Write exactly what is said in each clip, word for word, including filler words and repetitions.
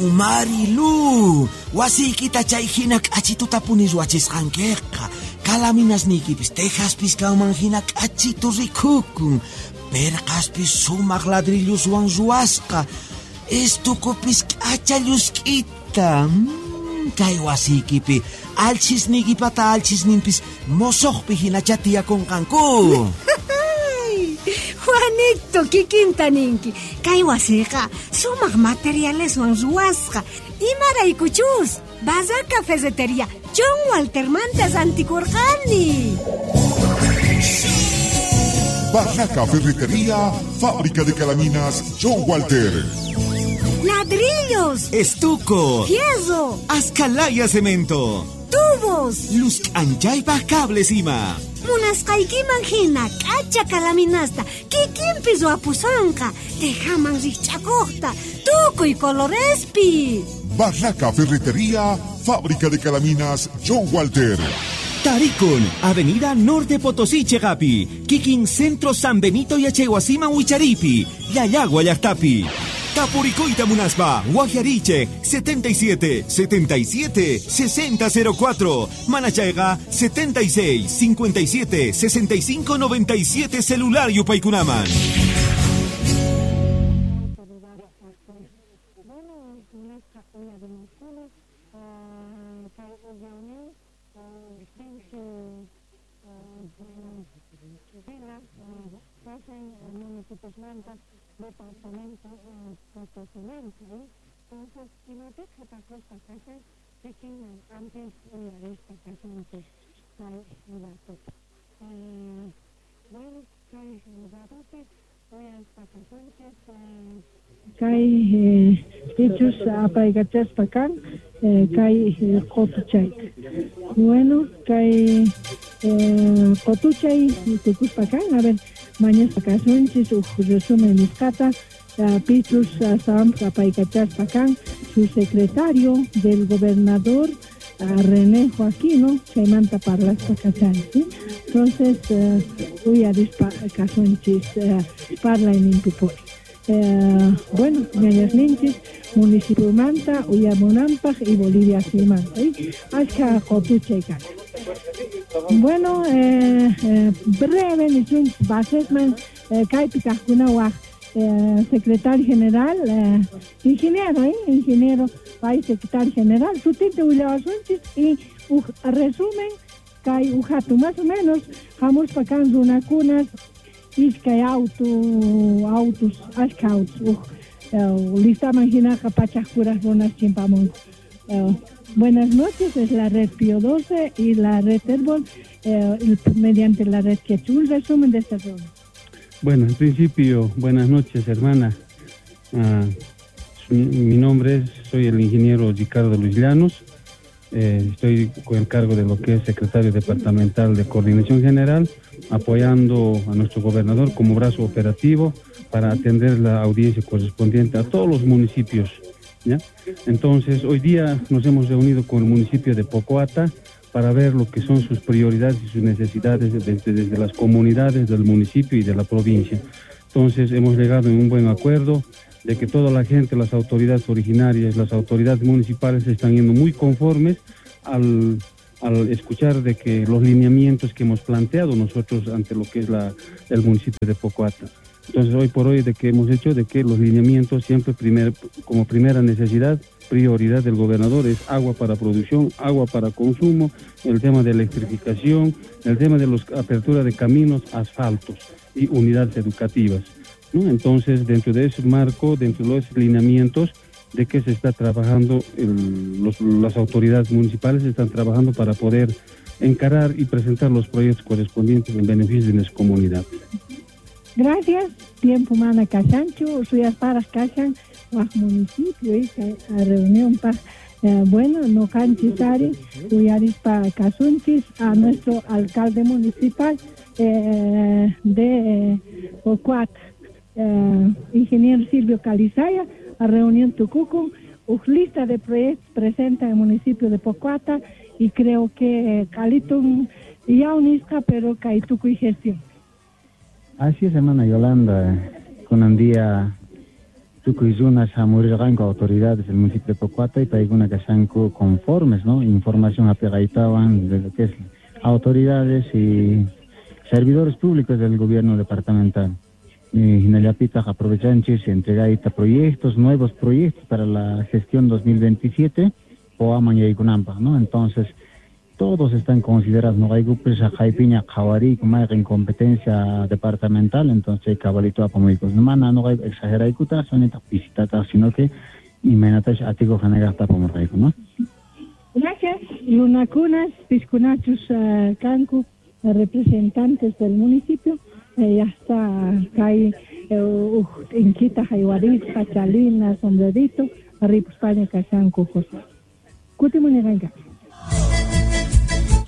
Yaw, Marilu, wasiykita chay hina k'achituta puni ruwachisqankiqa. Kalaminasniykipis tejaspis kanman hina k'achitu rikukun. Perqaspis sumaq ladrilloswan ruwasqa. Estukupis k'acha llusk'ita. Mm, kay wasiykipi alchisniykipata alchisninpis mosoqpi hinacha tiyakunqanku. Juanito, kikinta ninki. Kay wasiqa sumaq materialeswan ruwasqa. Imaraykuchus Barraca Ferretería John Waltermanta rantikurqani. Barraca Ferretería, fábrica de calaminas John Walter. Ladrillos, estuco, fierro, ascalaya cemento, tubos, luz anchaypaq cables ima. Munasqaykiman hina k'acha kalaminasta kikinpi ruwapusonqa, tejaman rikch'akuqta, tukuy colorespi. Barraca Ferretería, fábrica de calaminas John Walter. Tarikun, Avenida Norte Potosí, Chegapi, Kikin Centro San Benito y Achehuasiman Huicharipi, Llallagua llaqtapi. Tapurikuyta munaspa, Guajariche, setenta y siete, setenta y siete, sesenta cero cuatro, Manachayga, setenta y seis, cincuenta y siete, sesenta y cinco, noventa y siete, celular Yupaykunaman. Kay pichus apaykachaspa kan kay qotuchay. Bueno, kay qotuchay tukuspa kan, a ver, mañaspa kasunchis uj resumen nisqata. Pichus Sam apaykachaspa kan su secretario del gobernador René Joaquino, chaymanta parlaspa kachani, ¿sí? Entonces, uyarispa kasunchis parlayninpipuri. Eh, bueno, ñañasninchis municipiomanta, Uyamunampaj y Bolivia simanta, ¿sí? Ashka qotuchay kan. Bueno, eh, eh, breve nisunchis basesman eh, kaypi kaqkuna waj eh, secretario general, eh, ingeniero, eh, ingeniero, país secretario general, sutinte willawasunchis y uj resumen kay ujatu más o menos hamuspa kan runakunas iskay auto, autos, ashka autos, uj eh, listaman hinaqa pachaq kuraq runas chimpamunku. Eh, buenas noches, es la red Pío doce y la red Herbol, eh, mediante la red Quechua. Un resumen de esta reunión. Bueno, en principio, buenas noches, hermana. Ah, mi, mi nombre es, soy el ingeniero Ricardo Luis Llanos. Eh, estoy con el cargo de lo que es secretario departamental de Coordinación General, apoyando a nuestro gobernador como brazo operativo para atender la audiencia correspondiente a todos los municipios, ¿ya? Entonces, hoy día nos hemos reunido con el municipio de Pocoata para ver lo que son sus prioridades y sus necesidades desde, desde las comunidades del municipio y de la provincia. Entonces, hemos llegado en un buen acuerdo de que toda la gente, las autoridades originarias, las autoridades municipales están yendo muy conformes al, al escuchar de que los lineamientos que hemos planteado nosotros ante lo que es la, el municipio de Pocoata. Entonces, hoy por hoy, de que hemos hecho de que los lineamientos siempre primer, como primera necesidad, prioridad del gobernador es agua para producción, agua para consumo, el tema de electrificación, el tema de la apertura de caminos, asfaltos y unidades educativas, ¿no? Entonces, dentro de ese marco, dentro de los lineamientos de que se está trabajando, el, los, las autoridades municipales están trabajando para poder encarar y presentar los proyectos correspondientes en beneficio de nuestra comunidad. Gracias. Tiempo mana kashanchu, suyas paras kashan, waj municipio, y a reunión pa, eh, bueno, no canchis ari, uyarispa kasunchis a nuestro alcalde municipal eh, de Pocoata, eh, ingeniero Silvio Calizaya, a reunión tucucun, uj lista de proyectos presenta en el municipio de Pocoata y creo que Calitun ya unisca, pero kaituku y gestión. Así es, hermana Yolanda, con un día Tukuy runas hamurirqanku autoridades del municipio de Pocoata y paykuna kashanku conformes, ¿no? Información apiqaytawan de lo que es autoridades y servidores públicos del gobierno departamental. Hinallapitaq aprovechanchis entregayta proyectos, nuevos proyectos para la gestión dos mil veintisiete, Poaman yaykunanpaq, ¿no? Entonces, todos están considerados, no hay qhaypiña qhawariyku mayqin competencia departamental, entonces cabalito apamuykus. Mana no hay exageraykuta, sonita visitataq, sino que imaynatash atiku hanaqta apamurqayku, ¿no? Gracias. Lunakunas, piskunachus, uh, kanku, representantes del municipio, eh, ya está kay eh, inquita haywarisqa, chalina, sombrerito, ripuspaña kashanku, José. Kutimuniqanka.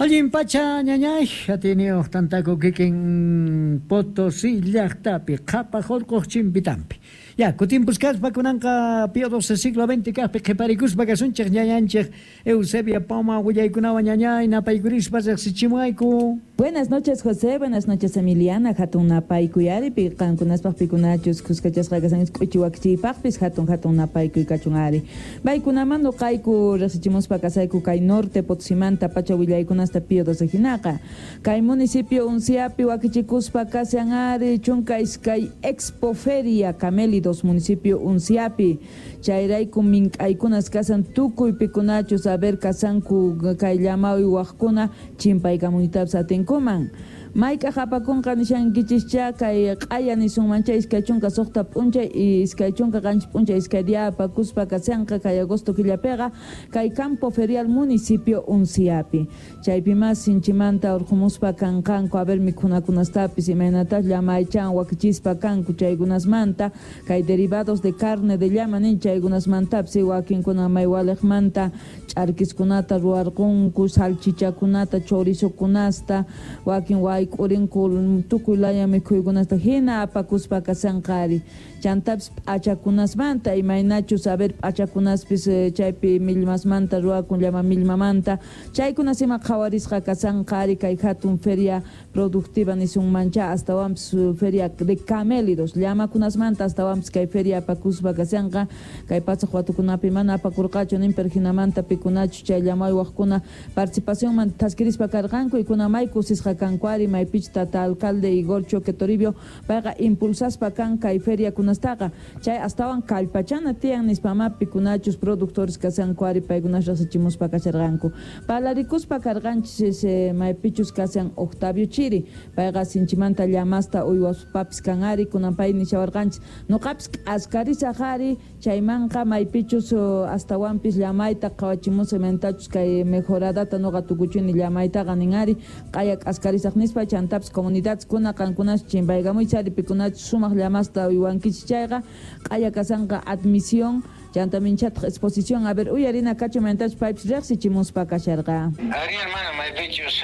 Allin pacha ñañay, atiniyuq tantaku kikin Potosí llaqtapi, qhapaq urquq chimpitampi. Ya, kutimpusqaspa kunanqa Pío doce siglo veinte kaqpi qhiparikuspa kasunchik ñañanchik Eusebia Poma willaykunawan ñañay napaykurispa riqsichimuayku. Buenas noches, José. Buenas noches, Emiliana. Hatun napaykuy ari qankunaspaq pikunachus kuskachasqa kasanchis k'uchiwakchiypaqpis hatun hatun napaykuy kachun ari. Paykunaman nuqayku riqsichimuspa kasayku kay norte Potosimanta pacha willaykunasta Pío doce hinaqa. Kay municipio Unciapi wakichikuspa kashan ari chunka iskay Expo Feria Camélidos municipio Unciapi. Chayrayku mink'aykunas kasan tukuy pikunachus a ver kasanku kay llamawi waqkuna chimpaykamuytapas atinkuman. Mayk'aq apakunqa nishankichischa kay q'aya nisunmancha iskay chunka suqta p'unchay iskay chunka qanchis p'unchay iskay día apakuspa kashanqa kay agosto killapiqa kay campo ferial municipio Unciapi. Chaypi mas sinchimanta urqumuspa kanqanku a ver mikhunakunastapis imaynatas llamaychan wakichispa kanku chaykunasmanta kay derivados de carne de llama nin chaykunasmantapis wakinkuna maywaliqmanta ch'arkiskunata ruwarqunku salchichakunata chorizokunasta wakin wayk'urinku tukuy laya mikhuykunasta hina apakuspa kashanqari. Chantapis p'achakunasmanta imaynachus a ver p'achakunaspis chaypi millmasmanta ruwakun llama millmamanta chaykunas ima qhawarisqa kashanqari kay hatun feria productiva nisunmancha astawanpis feria de camélidos llamakunasmanta astawanpis kay feria apakuspa kashanqa kay pasaq watukunapi mana apakurqachu nin pero hinamanta pikunachu chay llamaywaqkuna participacionman thaskirispa karqanku y kuna may kusisqa kanku ari maypich tata alcalde Igor Choque Toribio payqa impulsaspa kan kay feria kunastaqa chay astawan kallpachana tiyan nispama pikunachus productores kashanku ari paykunas riqsichimuspa kasharqanku. Parlarikuspa karqanchis maypichus kashan Octavio Chiri payqa sinchimanta llamasta uywaspapis kan ari kunan pay nishawarqanchis nuqapis k'askarisaq ari chaymanqa maypichus astawanpis llamayta qhawachimusaq imaynatachus kay mejoradata nuqa tukuchuni llamaytaqa nin ari q'aya k'askarisaq nispa chantapis comunidades kuna qankunas chimpaykamuychis ari pikunachus sumaq llamasta uywankichis chayqa q'aya kasanqa admisión chanta minchataq exposición a ver uyarina kachu imaynatachus paypis riqsichimuspa kasharqa. Ari hermana maypichus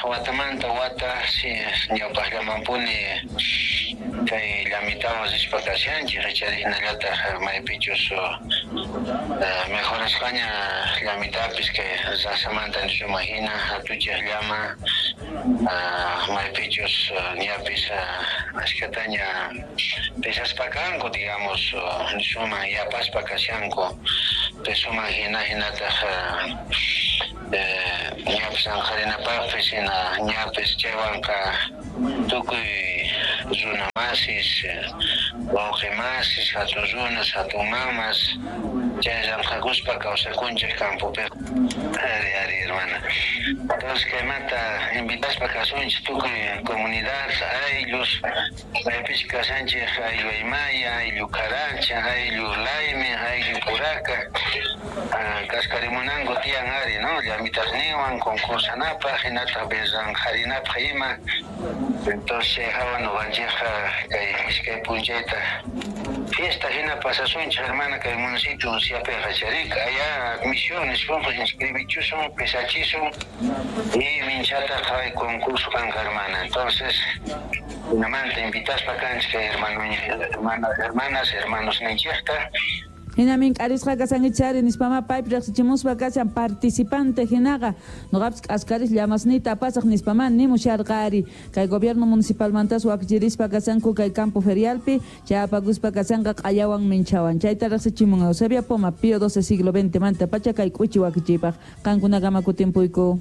watamanta wata si ñawpaqllamanpuni kay llamitawan rispa kashanchik icharinallataq maypichus mejorasqaña llamitapis kay rasamanta nisuma hina hatuchaq llama maypichus ñapis ashkataña pesaspa kanku digamos nisuman yapaspa kashanku pesuman hina hinataq ñapis anqarinapaqpis hina ñapis chaywanqa tukuy runa masis wawqi masis hatun runas hatun mamas chay llamk'akuspa kawsakunchik campopi. Ari ari hermana. Entonces kaymanta invitaspa kasunchik tukuy comunidad ayllus maypis kashanchik ayllu Aymaya, ayllu Caracha, ayllu Laime, ayllu Puraca kaskarimunanku tiyan ari, ¿no? Llamitasninwan concursanapaq hinataq besanqarinapaq ima. Entonces hawa nuqanchikqa kay iskay p'unchayta fiesta hina pasasunchik hermana kay municipio Unciapiqa charika allá admisiones inscribichusun pesachisun y minchataq kay concurso kanqa hermana. Entonces hinamanta invitaspa kanchik kay hermano, hermana, hermanas, hermanos ninchikta Hinamin k'arisqa kasankichari nispama paypi riqsichimuspa kashan participante hinaqa nuqapis k'askaris llamasniyta apasaq nispama nimusharqari kay gobierno municipalmantas wakichirispa kasanku kay campo ferialpi chayapakuspa kasanqa q'ayawan minchawan chayta riqsichimun Eusebia Poma Pío doce siglo veinte manta pacha kay k'uchi wakichiypaq qankunakama kutimpuyku.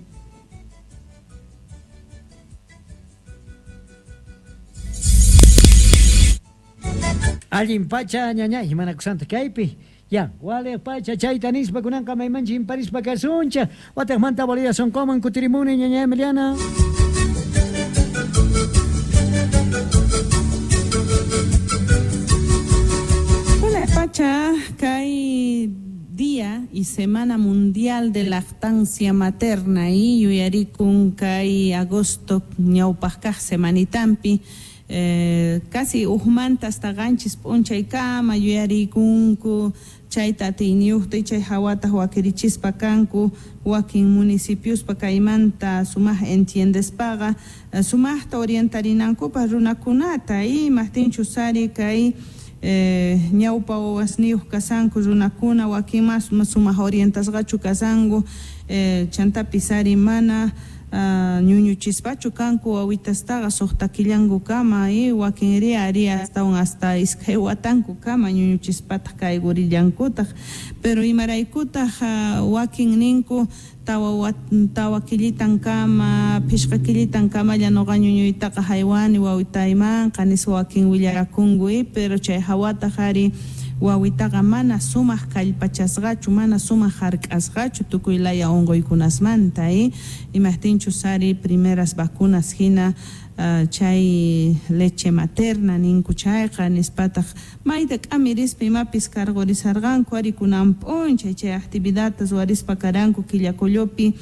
Allin pacha ñañay manakusanta kaypi ya wale pacha chayta nispa kunanqa maymanchi imparispa kasuncha wataqmanta Bolivia sonqoman kutirimuni ñañay Emiliana. Hola pacha, kay Día y Semana Mundial de Lactancia Materna y yuyarikun kay agosto ñawpaqkaq semanitampi. Eh, casi ujmanta hasta ganchis p'unchaykama yuyarikunku chayta atiyniyuqta y chay hawataq wakirichispa kanku wakin municipiospa kaymanta sumaq entiendespaqa sumaqta orientarinankupaq runakunata y maqtinchu sari kay eh, ñawpa wawasniyuq kasanku runakuna wakin mas sumaq orientasqachu kasanku eh, chantapis ari mana Uh, ñuñuchispachu kanku wawitastaqa suqta killanku kama y wakinri ari astawan hasta iskay watanku kama ñuñuchispataq kaygurillankutaq pero imaraykutaq uh, wakin ninku tawa tawa killitan kama phishqa killitan kamalla nuqa ñuñuytaqa haywani wawitaymanqa nispa wakin willarakunku y pero chay hawataq ari wawitaqa mana sumaq kallpachasqachu mana sumaq hark'asqachu tukuy laya unquykunasmanta y imaqtinchu sari primeras vacunas hina uh, chay leche materna ninku chayqa nispataq mayta k'amirispa imapis cargorisarqanku ari kunan p'unchay chay actividadtas warispa karanku Quillacollopi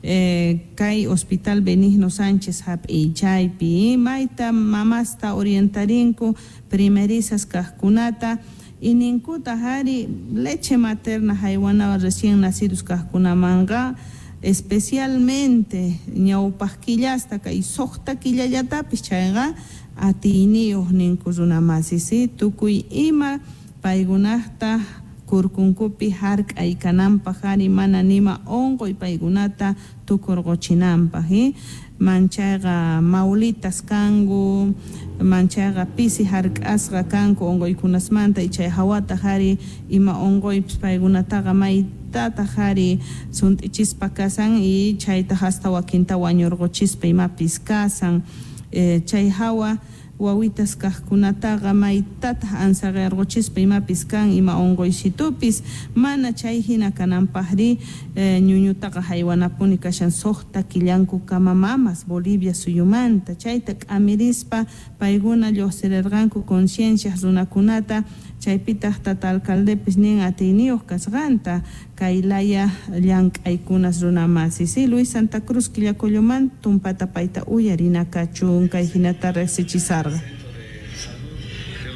Eh, kay Hospital Benigno Sánchez hap'iy chaypi mayta mamasta orientarinku primerizas kaqkunata y ninkuta hari leche materna haywanawan recién nacidos kaqkunamanqa especialmente ñawpaq killasta kay suqta killallatapis chayqa atiyniyuq ninku runamasis tukuy ima paykunaqta kurkunkupi hark'ay kananpaq ari mana nima unquy paykunata tukurquchinanpaq eh? Manchayqa maulitas kanku manchayqa pisi hark'asqa kanku unquykunasmanta y chay hawataq ari ima unquypis paykunataqa maytataq ari sunt'ichispa kasan y chaytaq hasta wakinta wañurquchispa imapis kasan eh, chay hawa wawitas kaqkunataqa maytataq ansaqirquchispa imapis kan ima unquysitupis mana chay hina kananpaqri eh, ñuñutaqa haywanapuni kashan suqta killanku kama mamas Bolivia suyumanta chayta k'amirispa paykuna lluqsirirqanku conciencias runakunata chaypitaq tata alcaldepis nin atiyniyuq kasqanta kay laya llank'aykunas runamasis si Luis Santa Cruz Quillacolloman tumpata payta uyarinakachun kay hinata riqsichisarqa.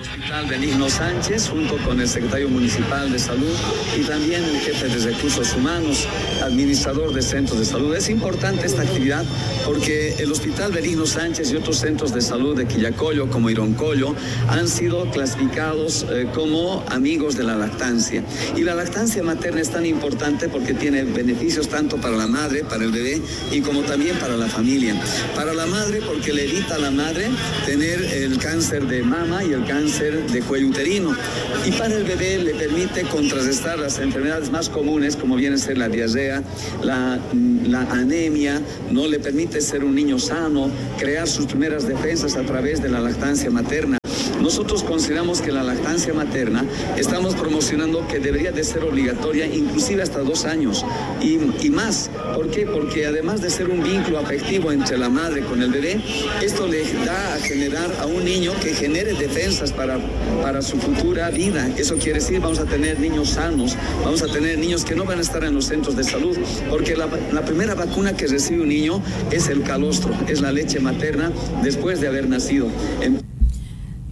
Hospital Benigno Sánchez, junto con el secretario municipal de salud y también el jefe de recursos humanos, administrador de centros de salud. Es importante esta actividad porque el Hospital Benigno Sánchez y otros centros de salud de Quillacollo, como Ironcollo, han sido clasificados eh, como amigos de la lactancia. Y la lactancia materna es tan importante porque tiene beneficios tanto para la madre, para el bebé y como también para la familia. Para la madre porque le evita a la madre tener el cáncer de mama y el cáncer de cuello uterino, y para el bebé le permite contrarrestar las enfermedades más comunes como viene a ser la diarrea, la, la anemia, no le permite ser un niño sano, crear sus primeras defensas a través de la lactancia materna. Nosotros consideramos que la lactancia materna estamos promocionando que debería de ser obligatoria inclusive hasta dos años y, y más. ¿Por qué? Porque además de ser un vínculo afectivo entre la madre con el bebé, esto le da a generar a un niño que genere defensas para, para su futura vida. Eso quiere decir, vamos a tener niños sanos, vamos a tener niños que no van a estar en los centros de salud, porque la, la primera vacuna que recibe un niño es el calostro, es la leche materna después de haber nacido. En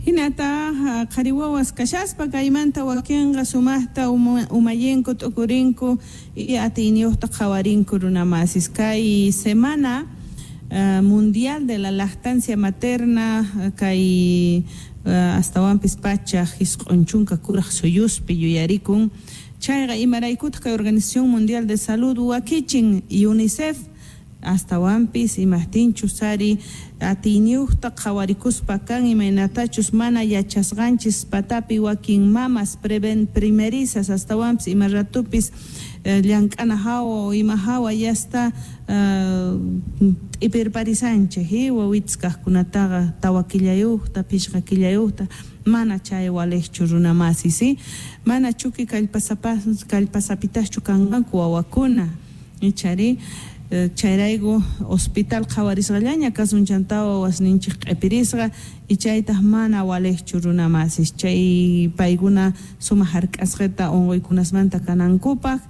Hinata qhari wawas kashaspa kaymanta wakinqa sumaqta umallenku t'ukurinku y atiyniyuqta qhawarinku runamasis kay semana uh, mundial de la lactancia materna kay Astawanpis pachaq isq'un chunka kuraq suyuspi yuyarikun. Chayqa imaraykutaq kay Organización Mundial de Salud wakichin UNICEF astawanpis imaqtinchus ari atiyniyuqta qhawarikuspa kan imaynatachus mana yachasqanchis patapi wakin mamas preven primerizas astawanpis ima ratupis llank'ana hawa o ima hawa yasta t'ipirparisanchik wawitas kaqkunataqa tawa killayuqta phishqa killayuqta mana chay waliqchu runa masis mana chuki kallpasapas kallpasapitaschu kanqanku wawakuna ichari chayrayku hospital qhawarisqallaña kasun chanta wasninchik q'ipirisqa y chaytaq mana waliqchu runa masis chay paykuna sumaq hark'asqata unquykunasmanta kanankupaq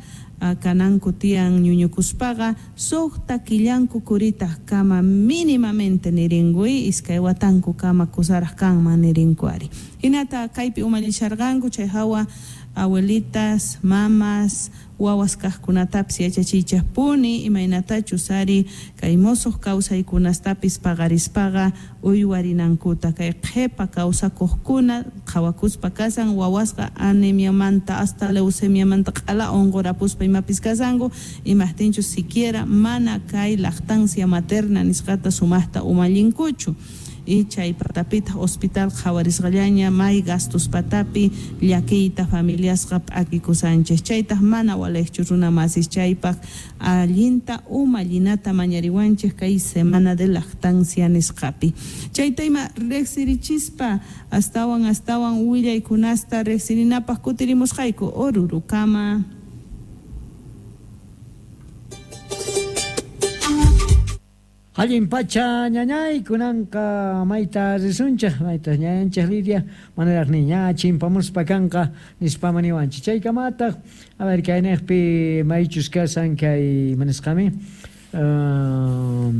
kananku tiyan ñuñukuspaqa suqta killanku kuritaq kama mínimamente nirinkuy iskay watanku kama kusaraq kanman nirinku ari hinata kaypi umallisharqanku chay hawa abuelitas, mamas, wawas kaqkunatapis yachachiychaqpuni imaynatachus ari kay musuq kawsaykunastapis paqarispaqa uywarinankuta kay qhipa kawsakuqkuna qhawakuspa kasan wawasqa anemiamanta hasta leucemiamanta q'ala unqurapuspa imapis kasanku imaqtinchus siquiera mana kay lactancia materna nisqata sumaqta umallinkuchu y chay patapitaq hospital qhawarisqallaña may gastos patapi llakiyta familiasqa p'akikusanchik chaytaq mana waliqchu runa masis chaypaq allinta umallinata mañariwanchik kay semana de lactancia nisqapi chayta ima riqsirichispa astawan astawan willaykunasta riqsirinapaq kutirimusqayku Orurukama. Allin pacha ñañay kunanqa mayta risunchik mayta ñañanchik Lidia manaraq niña chimpamuspa kanqa nispama niwanchik chaykamataq a ver kayniqpi maychus kasan kay manisqami uh,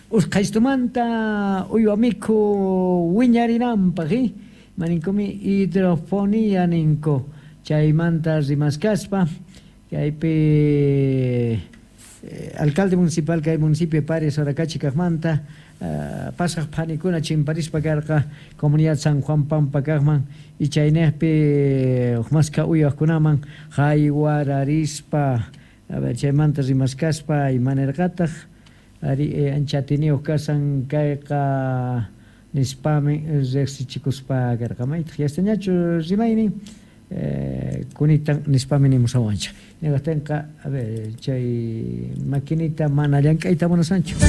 usqhaystumanta uywa mikhu wiñarinanpaq maninkumi hidrofonía ninku chaymanta rimaskaspa kaypi alcalde municipal kay municipio Pares Oracachi kaqmanta uh, pasaq phanikuna chimparispa karqa comunidad San Juan Pampa kaqman y chayniqpi uqmasqa uywaqkunaman haywararispa a ver chaymanta rimaskaspa imanirqataq ari eh, ancha atiniyuq kasan kayqa nispami riqsichikuspa karqa maytaq yastañachu rimaynin Eh, kunitan nispami nimusawanchik ñaqtinqa a ver chay maquinita mana llank'ayta munasanchu.